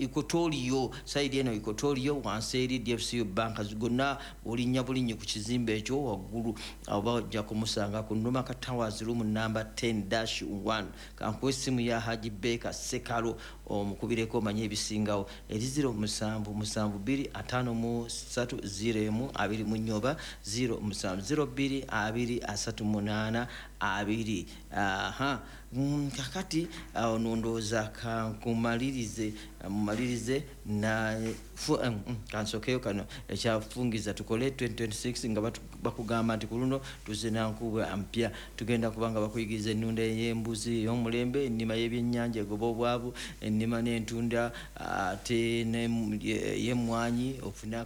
Equatorio side eno, Equatorio wansi eri DFCU Bank gonna, olinnya bulinnyi ku kizimbe ekyo waggulu, oba ojja kumusanga ku Numaka Towers, room number 10-1. Kankuwa essimu ya Haji Beka Sekalo, omukubireko omanye ebisingawo, eri 0772 53 01 24 oba 0702 20 38 20. Aha. Kakati awo ndowooza kankumalirize, mumalirize na kansokeyo kano ekyafungiza tukole 2026 nga bakugamba nti ku luno tuzina nkuba mpya. Tugenda kuba nga bakuyigiriza ennunda ey'embuzi ey'omulembe, ennima y'ebyennyanja egoba obwavu, ennima n'entunda ate y'emmwanyi, ofune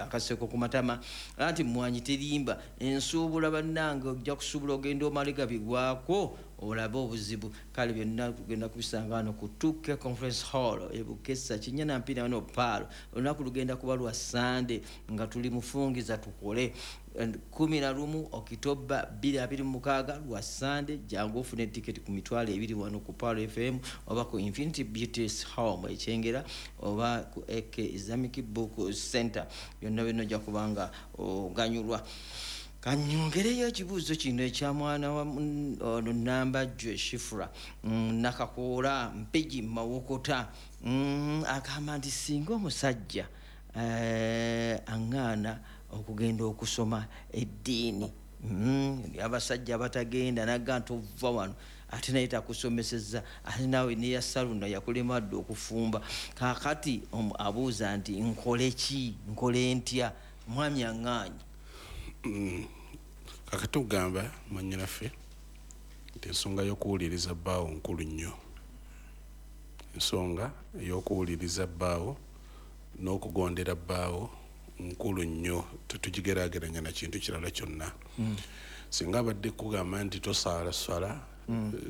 akaseko ku matama, anti mmwanyi terimba. Ensuubula bannange, ojja kusuubula ogenda omale gabigwako olabe obuzibu. Kale byonna tugenda kubisanga wano ku 2K Conference Hall ebukesa kinya mpina wano Paalo. Olunaku lugenda kuba lwa Sande nga tuli mufungiza tukole 11 Okitoba 2026, lwa Sande. Jangu ofune tiketi ku 20,000 wano ku Paalo FM oba ku Infinity Beauties Home Ekyengera oba ku AK Islamic Book Center. Byonna byonna ojja kubanga oganyulwa. Kanyongereyo ekibuuzo kino ekya mwana wa ono Nambajjo Shifura, Nakakoola Mpigi Mawokota. Agamba nti singa omusajja aŋŋaana okugenda okusoma eddiini, abasajja abatagenda naga nti ova wano, ate naye takusomeseza, ate naawe neya saluna yakulema dde okufumba. Kakati abuuza nti nkole ki, nkole ntya, mwami aŋŋaanyi? Kakati okugamba mwanyinaffe nti ensonga y'okuwuliriza bbaawo nkulu nnyo. Ensonga ey'okuwuliriza bbaawo n'okugondera bbaawo nkulu nnyo, tetugigeraageranya na kintu kirala kyonna. Singa abadde kugamba nti tosaala swala,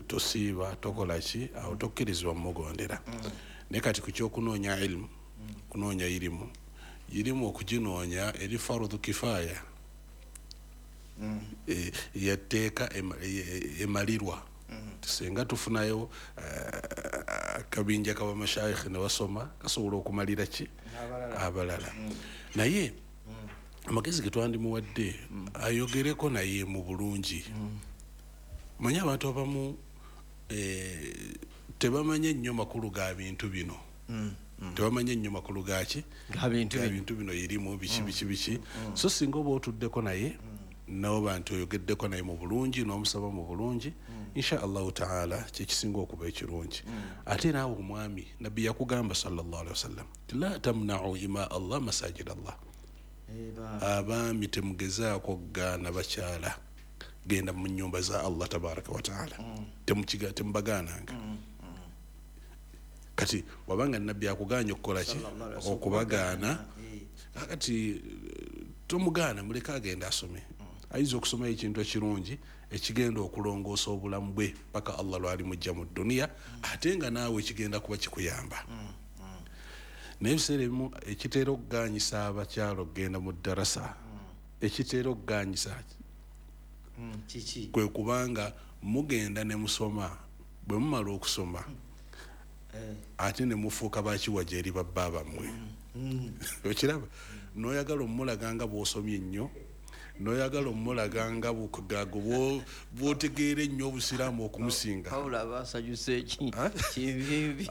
tosiiba, tokola ki, awo tokkirizibwa mumugondera. Naye kati ku kyokunoonya ilimu, kunoonya irimu, irimu okuginoonya eri farudhu kifaaya. Yatteeka emalirwa. Singa tufunayo akabinja kabamashayikh ne basoma, kasobola okumalira ki abalala. Naye amagezi ge twandimuwadde, ayogereko naye mu bulungi. Manye abantu abamu tebamanye nnyo makulu ga bintu bino, tebamanye nnyo makulu gaki Ga bintu ga bino. Bintu bino, irimu biki biki biki. So singa oba otuddeko naye noba nti oyogeddeko naye mu bulungi n'omusaba mu bulungi, insha Allahu taala kyekisinga okuba ekirungi. Ate naawe omwami, Nabbi yakugamba sallallahu alaihi wasallam ti la tamnau ima Allah masajid Allah. Abaami temugezaako kugaana bakyala genda mu nyumba za Allah tabaraka wataala. Temubagaananga. Kati wabanga Nabbi akuganye okukola ki? Sallallahu alaihi wasallam. Okubagaana. Kakati tomugaana, muleke agenda asome. Ayinza okusomayo ekintu ekirungi ekigenda okulongoosa obulamu bwe paka Allah lwali mujja mu duniya, ate nga naawe ekigenda kuba kikuyamba. Naye ebiseera ebimu ekiteera okuganyisa abakyala okugenda mu darasa, ekiteera okuganyisa Kiki? kwe kubanga mugenda ne musoma, bwe mumala okusoma ate ne mufuuka bakiwaja eri babba bammwe. Okiraba, noyagala omulaga nga bw'osomye ennyo, noyagala omulaga nga bukugago bw'otegeera ennyo obusiraamu okumusinga. Pawulo aba asanyuse eki? Ah? Kibimbi.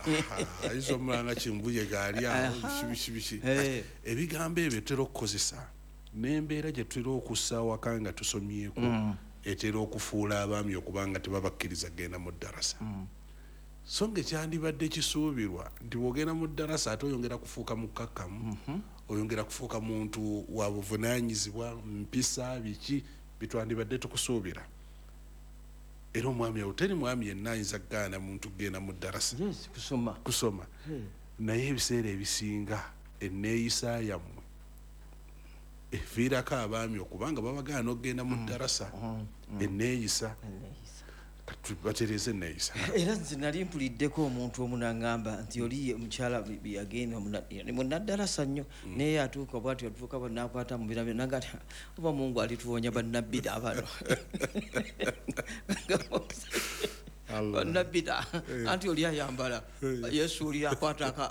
Ayinza omulanga kimbuye gaali awo, biki biki biki. Ebigambo ebyo tutera okukozesa n'embeera gye tutera okussa awaka nga tusomyeko etera okufuula abaami okuba nga tebabakkiriza kugenda mu ddarasa. So nga ekyandibadde kisuubirwa nti bw'ogenda mu ddarasa ate oyongera kufuuka mukkakkamu, oyongera kufuuka muntu wa buvunaanyizibwa, mpisa, biki bitwandibadde tukusuubira. Era omwami awo, teri mwami yenna ayinza kugaana muntu kugenda mu ddarasa Yes, kusoma. Kusoma. Naye ebiseera ebisinga enneeyisa yammwe eviirako abaami okubanga babagaana okugenda mu ddarasa, enneeyisa. Kati batereeze enneeyisa. Era nze nali mpuliddeko omuntu omu naŋŋamba nti oli omukyala yagenda munaddalasa nnyo, naye atuuka bwati, atuuka bwa nakwata mu birabyo naga nti oba Mungu alituwonya bannabbida bano. Allah. Bannabbida, anti oli ayambala Yesu oli akwata